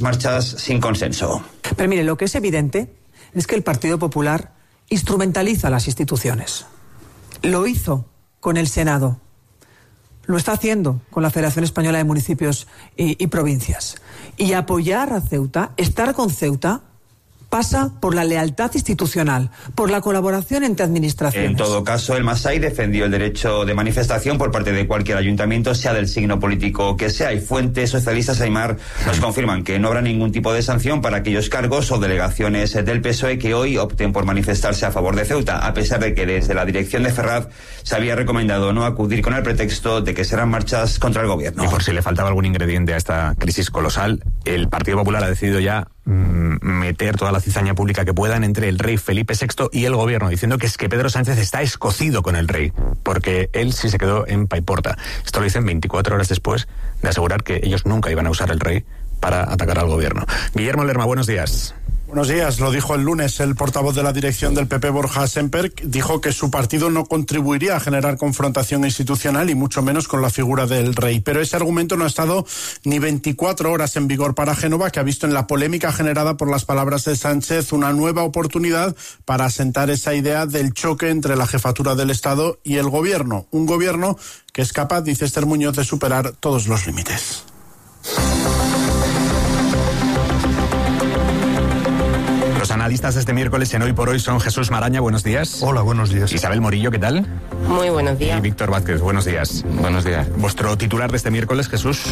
Marchas sin consenso. Pero mire, lo que es evidente es que el Partido Popular instrumentaliza las instituciones. Lo hizo con el Senado. Lo está haciendo con la Federación Española de Municipios y Provincias. Y apoyar a Ceuta, estar con Ceuta, pasa por la lealtad institucional, por la colaboración entre administraciones. En todo caso, el Masai defendió el derecho de manifestación por parte de cualquier ayuntamiento, sea del signo político que sea, y fuentes socialistas Aimar nos confirman que no habrá ningún tipo de sanción para aquellos cargos o delegaciones del PSOE que hoy opten por manifestarse a favor de Ceuta, a pesar de que desde la dirección de Ferraz se había recomendado no acudir con el pretexto de que serán marchas contra el gobierno. Y por si le faltaba algún ingrediente a esta crisis colosal, el Partido Popular ha decidido ya meter toda la cizaña pública que puedan entre el rey Felipe VI y el gobierno, diciendo que es que Pedro Sánchez está escocido con el rey, porque él sí se quedó en Paiporta. Esto lo dicen 24 horas después de asegurar que ellos nunca iban a usar el rey para atacar al gobierno. Guillermo Lerma, buenos días. Buenos días, lo dijo el lunes el portavoz de la dirección del PP, Borja Semper, dijo que su partido no contribuiría a generar confrontación institucional y mucho menos con la figura del rey. Pero ese argumento no ha estado ni 24 horas en vigor para Génova, que ha visto en la polémica generada por las palabras de Sánchez una nueva oportunidad para asentar esa idea del choque entre la jefatura del Estado y el gobierno. Un gobierno que es capaz, dice Esther Muñoz, de superar todos los límites. Los analistas de este miércoles en Hoy por Hoy son Jesús Maraña, buenos días. Hola, buenos días. Isabel Morillo, ¿qué tal? Muy buenos días. Y Víctor Vázquez, buenos días. Buenos días. ¿Vuestro titular de este miércoles, Jesús?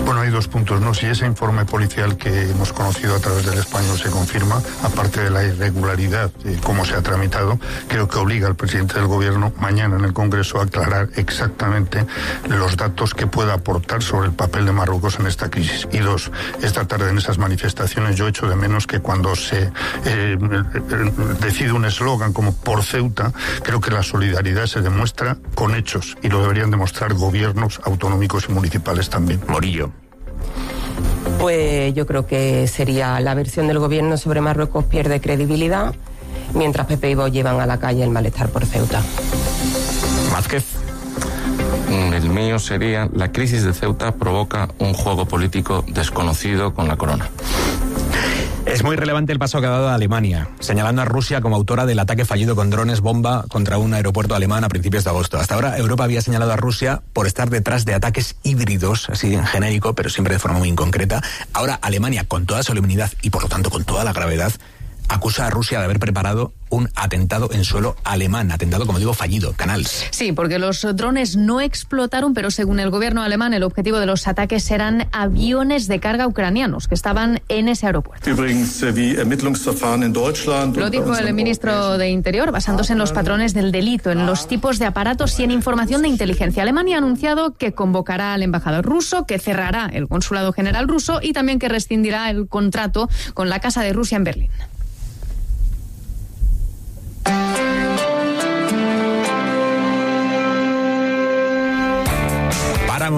Bueno, hay dos puntos, ¿no? Si ese informe policial que hemos conocido a través del Español se confirma, aparte de la irregularidad de cómo se ha tramitado, creo que obliga al presidente del gobierno mañana en el Congreso a aclarar exactamente los datos que pueda aportar sobre el papel de Marruecos en esta crisis. Y dos, esta tarde en esas manifestaciones yo echo de menos que cuando se decide un eslogan como por Ceuta, creo que la solidaridad se demuestra con hechos y lo deberían demostrar gobiernos autonómicos y municipales también. Morillo. Pues yo creo que sería la versión del gobierno sobre Marruecos pierde credibilidad, mientras Pepe y Vox llevan a la calle el malestar por Ceuta. Vázquez. El mío sería: la crisis de Ceuta provoca un juego político desconocido con la corona. Es muy relevante el paso que ha dado Alemania, señalando a Rusia como autora del ataque fallido con drones bomba contra un aeropuerto alemán a principios de agosto. Hasta ahora Europa había señalado a Rusia por estar detrás de ataques híbridos, así en genérico, pero siempre de forma muy inconcreta. Ahora Alemania, con toda solemnidad y por lo tanto con toda la gravedad, acusa a Rusia de haber preparado un atentado en suelo alemán, atentado, como digo, fallido. Canals. Sí, porque los drones no explotaron, pero según el gobierno alemán, el objetivo de los ataques eran aviones de carga ucranianos que estaban en ese aeropuerto. Lo dijo el ministro de Interior, basándose en los patrones del delito, en los tipos de aparatos y en información de inteligencia. Alemania ha anunciado que convocará al embajador ruso, que cerrará el consulado general ruso y también que rescindirá el contrato con la Casa de Rusia en Berlín.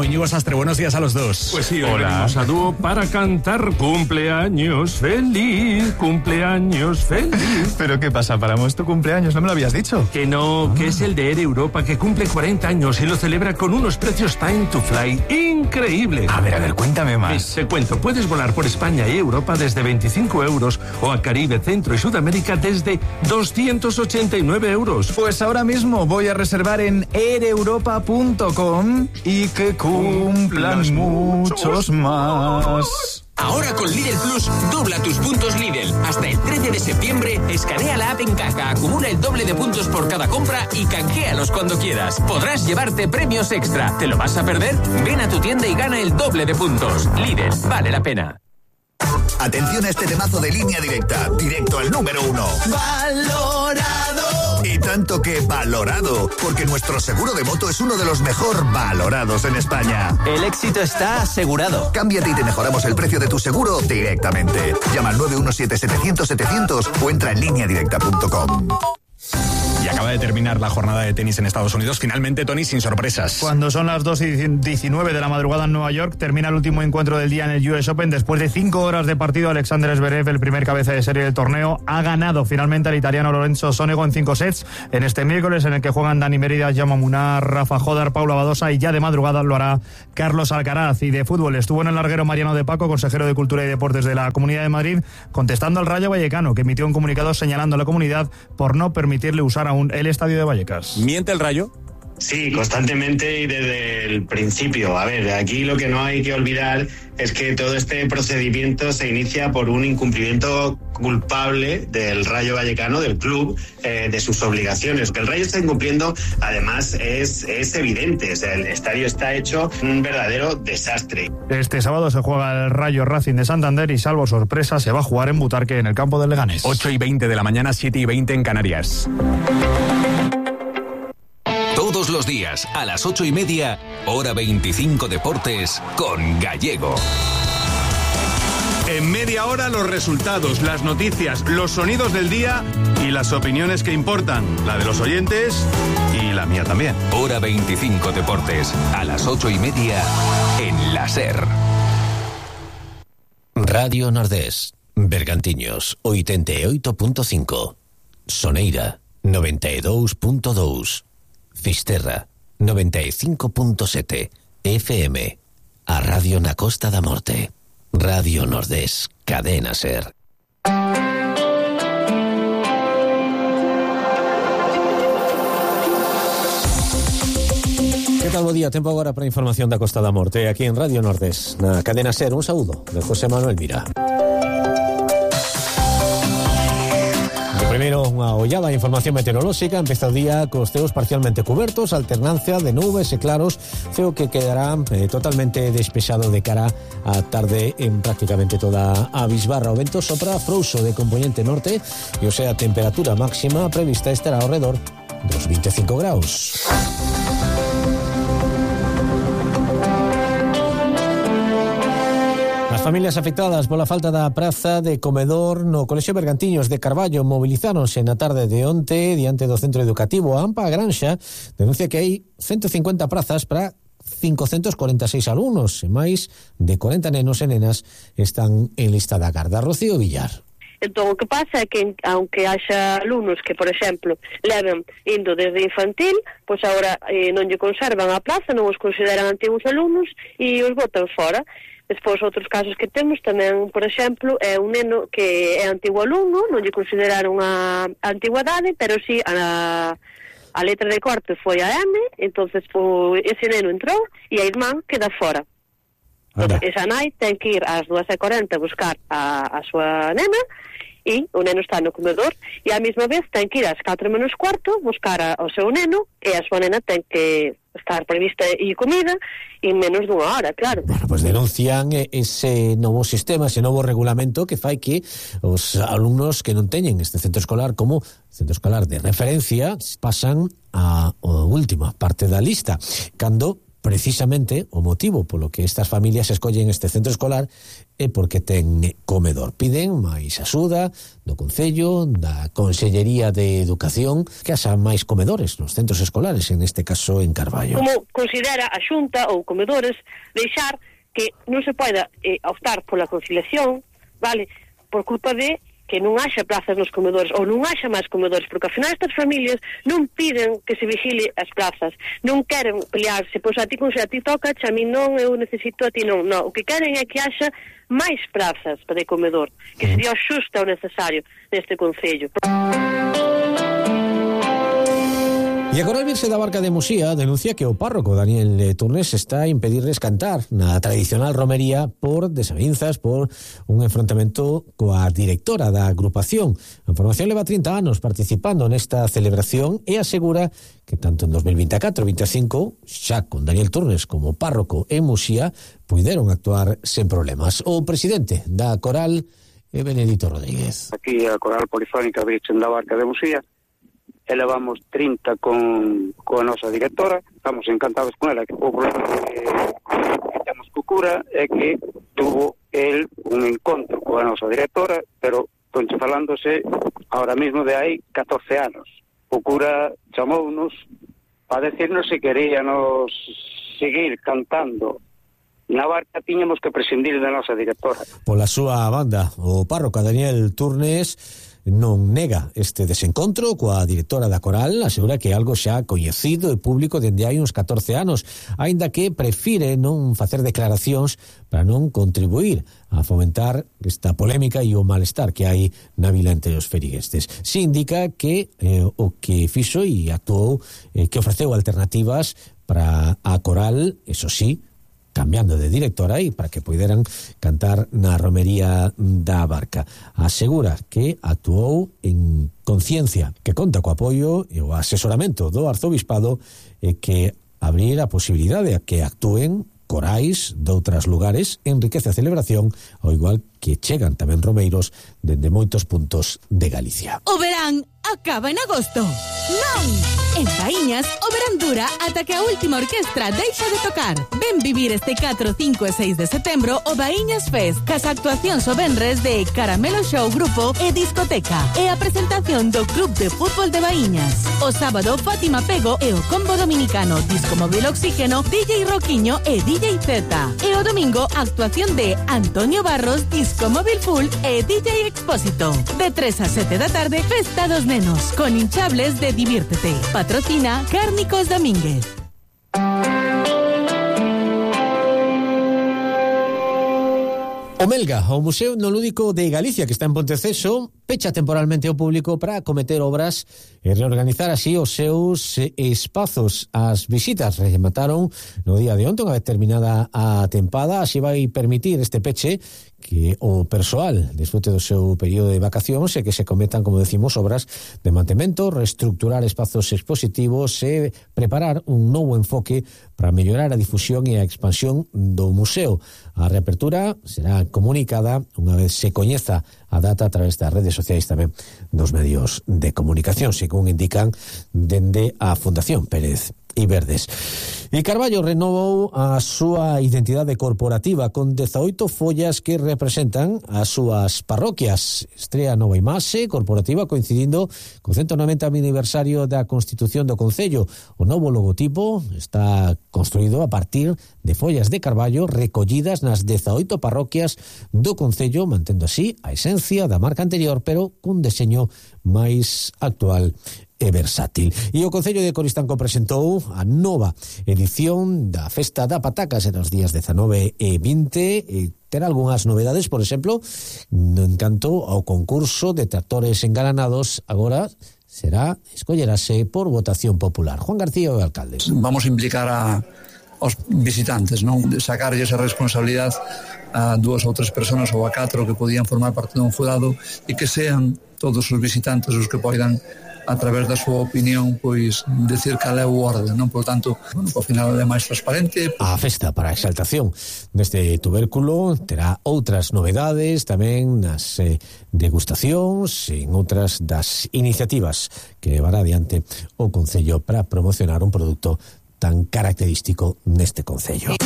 Íñigo Sastre, buenos días a los dos. Pues sí, hoy venimos a dúo para cantar cumpleaños feliz, cumpleaños feliz. ¿Pero qué pasa? ¿Paramos tu cumpleaños? ¿No me lo habías dicho? Que no, que es el de Air Europa, que cumple 40 años y lo celebra con unos precios time to fly increíbles. A ver, cuéntame más. Te cuento, puedes volar por España y Europa desde 25 euros o a Caribe, Centro y Sudamérica desde 289 euros. Pues ahora mismo voy a reservar en aireuropa.com y que cumplan muchos más. Ahora con Lidl Plus, dobla tus puntos Lidl. Hasta el 13 de septiembre, escanea la app en caja, acumula el doble de puntos por cada compra y canjealos cuando quieras. Podrás llevarte premios extra. ¿Te lo vas a perder? Ven a tu tienda y gana el doble de puntos. Lidl, vale la pena. Atención a este temazo de Línea Directa, directo al número 1. ¡Valorado! Y tanto que valorado, porque nuestro seguro de moto es uno de los mejor valorados en España. El éxito está asegurado. Cámbiate y te mejoramos el precio de tu seguro directamente. Llama al 917-700-700 o entra en lineadirecta.com. Y acabamos Acaba de terminar la jornada de tenis en Estados Unidos. Finalmente, Tony, sin sorpresas. Cuando son las 2:19 de la madrugada en Nueva York, termina el último encuentro del día en el US Open. Después de 5 horas de partido, Alexander Zverev, el primer cabeza de serie del torneo, ha ganado finalmente al italiano Lorenzo Sonego en 5 sets en este miércoles, en el que juegan Dani Mérida, Jaume Munar, Rafa Jodar, Paula Badosa, y ya de madrugada lo hará Carlos Alcaraz. Y de fútbol estuvo en el larguero Mariano de Paco, consejero de Cultura y Deportes de la Comunidad de Madrid, contestando al Rayo Vallecano, que emitió un comunicado señalando a la comunidad por no permitirle usar aún el estadio de Vallecas. ¿Miente el Rayo? Sí, constantemente y desde el principio. A ver, aquí lo que no hay que olvidar es que todo este procedimiento se inicia por un incumplimiento culpable del Rayo Vallecano, del club, de sus obligaciones. Que el Rayo está incumpliendo, además, es evidente. O sea, el estadio está hecho un verdadero desastre. Este sábado se juega el Rayo Racing de Santander y, salvo sorpresa, se va a jugar en Butarque, en el campo del Leganés. 8:20 de la mañana, 7:20 en Canarias. Todos los días, a las 8:30, hora 25 Deportes, con Gallego. En media hora, los resultados, las noticias, los sonidos del día y las opiniones que importan. La de los oyentes y la mía también. Hora 25 Deportes, a las 8:30, en la SER. Radio Nordés, Bergantiños, 88.5. Soneira, 92.2. Fisterra, 95.7 FM. A Radio na Costa da Morte. Radio Nordés, Cadena SER. Que tal, bo día? Tempo agora para a información da Costa da Morte aquí en Radio Nordés, na Cadena SER. Un saúdo de José Manuel Vira. Primeiro, unha ollada a información meteorolóxica. Empeza o día cos ceos parcialmente cubertos, alternancia de nubes e claros, ceo que quedará totalmente despexado de cara á tarde en prácticamente toda a bisbarra. O vento sopra frouxo de componente norte e, o sea, a temperatura máxima prevista estará ao redor dos 25 graus. As familias afectadas pola falta da praza de comedor no Colexio Bergantiños de Carballo mobilizáronse na tarde de onte diante do centro educativo. A AMPA Granxa denuncia que hai 150 prazas para 546 alumnos e máis de 40 nenos e nenas están en lista da garda. Rocío Villar. Entón, o que pasa é que, aunque haxa alumnos que, por exemplo, leven indo desde infantil, pois agora non lle conservan a plaza, non os consideran antigos alumnos e os botan fora. Despois, outros casos que temos tamén, por exemplo, é un neno que é antigo alumno, non lle consideraron a antigüedade, pero sí a letra de corte foi a M, entonces ese neno entrou e a irmán queda fora. Esa nai ten que ir ás 2:40 a buscar a súa nena e o neno está no comedor e á mesma vez ten que ir ás 4:45 buscar ao seu neno e a súa nena ten que estar prevista e comida en menos dunha hora, claro. Bueno, pues denuncian ese novo sistema, ese novo regulamento que fai que os alumnos que non teñen este centro escolar como centro escolar de referencia pasan a última parte da lista, cando precisamente o motivo polo que estas familias escollen este centro escolar é porque ten comedor. Piden máis axuda do Concello, da Consellería de Educación, que haxa máis comedores nos centros escolares, en este caso en Carballo. Como considera a Xunta ou comedores deixar que non se poida optar pola conciliación, vale, por culpa de que non haxa plazas nos comedores ou non haxa máis comedores, porque ao final estas familias non piden que se vigile as plazas, non queren pelearse, pois a ti toca, a mí non, eu necesito, a ti non, o que queren é que haxa máis plazas para o comedor, que sería o xusto o necesario neste concello. E agora a Virxe da Barca de Muxía denuncia que o párroco Daniel Turnes está a impedirles cantar na tradicional romería por desavinzas, por un enfrontamento coa directora da agrupación. A formación leva 30 anos participando nesta celebración e asegura que tanto en 2024 e 2025, xa con Daniel Turnes como párroco en Muxía, puideron actuar sen problemas. O presidente da coral é Benedito Rodríguez. Aquí a coral polifónica Virxe da Barca de Muxía, elevamos 30 con a nosa directora, estamos encantados con ela. O problema que temos co cura é que tuvo el un encontro coa nosa directora, pero falándose ahora mismo de hai 14 anos. o cura chamounos para decirnos se queríamos seguir cantando na barca, tiñamos que prescindir da nosa directora. Pola súa banda, o párroco Daniel Turnes non nega este desencontro coa directora da coral, asegura que é algo xa coñecido e público dende hai uns 14 anos, aínda que prefire non facer declaracións para non contribuir a fomentar esta polémica e o malestar que hai na vila entre os feriguestes. Se indica que o que fixo e actuou, que ofreceu alternativas para a coral, eso sí, cambiando de directora e para que poideran cantar na romería da barca. Asegura que actuou en conciencia, que conta co apoio e o asesoramento do arzobispado e que abrir a posibilidade a que actúen corais de outros lugares enriquece a celebración, ao igual que chegan tamén romeiros dende moitos puntos de Galicia. O verán acaba en agosto. Non! En Baíñas, o verán dura ata que a última orquestra deixa de tocar. Ven vivir este 4, 5 e 6 de setembro o Baíñas Fest, cas actuacións o venres de Caramelo Show Grupo e Discoteca, e a presentación do Club de Fútbol de Baíñas. O sábado, Fátima Pego e o combo dominicano Disco Móvil Oxígeno, DJ Roquiño e DJ Z. E o domingo, actuación de Antonio Barros, Disco Móvil Full e DJ Expósito. De 3 a 7 da tarde, Festa dos Nenos, con hinchables de Diviértete. Patrocina Cárnicos Domínguez. O Melga, o Museo Etnolúdico de Galicia, que está en Ponteceso, pecha temporalmente ao público para acometer obras e reorganizar así os seus espazos. As visitas remataron no día de onte, unha vez terminada a tempada, así vai permitir este peche que o persoal desfrute do seu período de vacacións e que se cometan, como decimos, obras de mantemento, reestructurar espazos expositivos e preparar un novo enfoque para mellorar a difusión e a expansión do museo. A reapertura será comunicada unha vez se coñeza a data a través das redes sociais tamén dos medios de comunicación, según indican dende a Fundación Pérez e Verdes. E Carballo renovou a súa identidade corporativa con 18 follas que representan as súas parroquias. Estrea nova imaxe corporativa coincidindo co 190 aniversario da Constitución do Concello. O novo logotipo está construído a partir de follas de Carballo recollidas nas 18 parroquias do Concello, mantendo así a esencia da marca anterior, pero cun deseño máis actual e versátil. E o Concello de Coristanco presentou a nova edición da Festa da Pataca será os días 19 e 20 e terá algunhas novedades, por exemplo, en canto ao concurso de tractores engalanados, agora escollerase por votación popular. Juan García, o alcalde. Vamos a implicar aos visitantes, non? Sacarlle esa responsabilidade a 2 ou 3 persoas ou a 4 que podían formar parte dun jurado e que sean todos os visitantes os que poidan a través da súa opinión, pois, decir cal é o orde, non? Por tanto, ao final é máis transparente. A festa para a exaltación deste tubérculo terá outras novedades tamén nas degustacións e en outras das iniciativas que levará adiante o Concello para promocionar un produto tan característico neste Concello.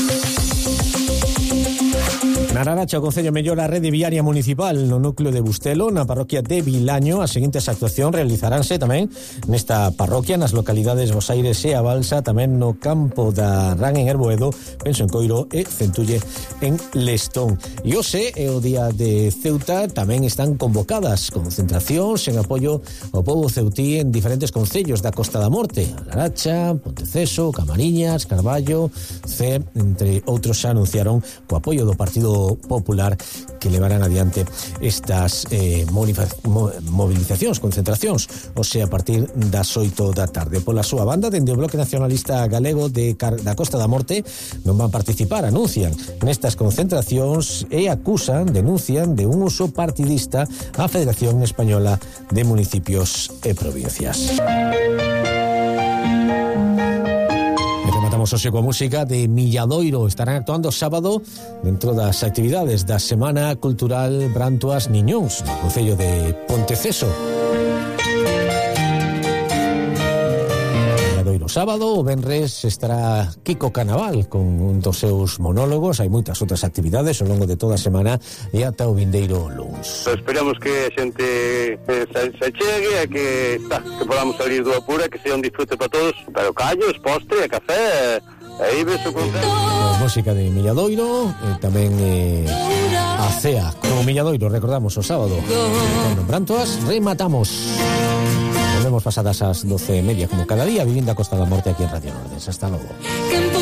Na Laracha, o Concello mellora a rede viaria municipal no núcleo de Bustelo, na parroquia de Vilaño. As seguintes actuacións realizaránse tamén nesta parroquia, nas localidades Bosaires e A Balsa, tamén no campo da Ran en Herboedo, Penso en Coiro e Centulle en Lestón. E hoxe é o día de Ceuta, tamén están convocadas concentracións en apoio ao pobo ceutí en diferentes concellos da Costa da Morte, Laracha, Ponteceso, Camariñas, Carballo, C, entre outros xa anunciaron co apoio do Partido Popular que levarán adiante estas movilizacións, concentracións, o sea, a partir das 8 da tarde. Pola súa banda, dende o Bloque Nacionalista Galego da Costa da Morte non van participar, anuncian nestas concentracións e denuncian de un uso partidista a Federación Española de Municipios e Provincias. Rematamos hoxe coa música de Milladoiro. Estarán actuando sábado dentro das actividades da Semana Cultural Brantuas Niñóns no Concello de Ponteceso. Milladoiro. no sábado. O venres estará Kiko Canaval con un dos seus monólogos. Hai moitas outras actividades ao longo de toda a semana e ata o vindeiro luns. Esperamos que a xente se chegue e que podamos salir do apura, que sea un disfrute para todos, pero callos, postre, café, aí beso con música de Milladoiro, tamén a CEA como Milladoiro, recordamos o sábado. Con Brantoas rematamos. Volvemos pasadas as 12:30 como cada día, vivindo a Costa da Morte aquí en Radio Nordes. Hasta logo.